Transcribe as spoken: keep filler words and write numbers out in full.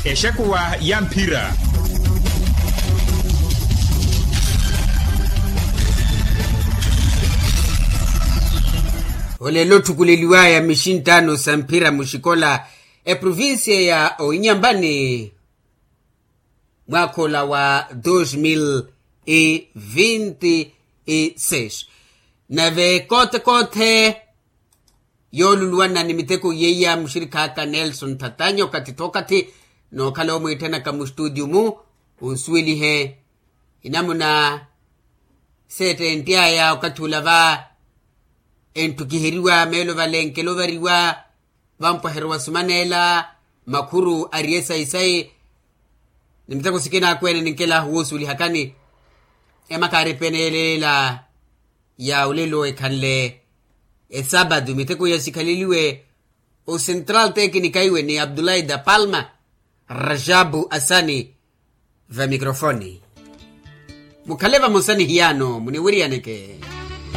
Exekuwa ya mphira. Olelo otthukuleliwaya mixinttano sa mphira muxikola eprovincia ya oinyambani mwaakha ola wa dos mil e vinti e seis. Nave kote kote yooluluwana ni miteko yeiya muxirikhaaka nelson thatanya okathi thookathi nookhala omwiittanaka mustutio-mu. Onsuwelihe inamuna seettenttiyaya okathi ula va entthukiheriwa meelo valenkela ovariwa vampweherewa sumaneela makhuru ariye sayi-sayi. Ni miteko sikina akweene ninkelahu woosuwelihakani emakaari epeneeleela ya olelo ekhanle esapatu miteko iya sikhaleliwe osentral tekinika iwe ni abdulahi da palma rajabu asani. Vamikrofoni mukhale vamosa ni hiyaano muniwiriyaneke.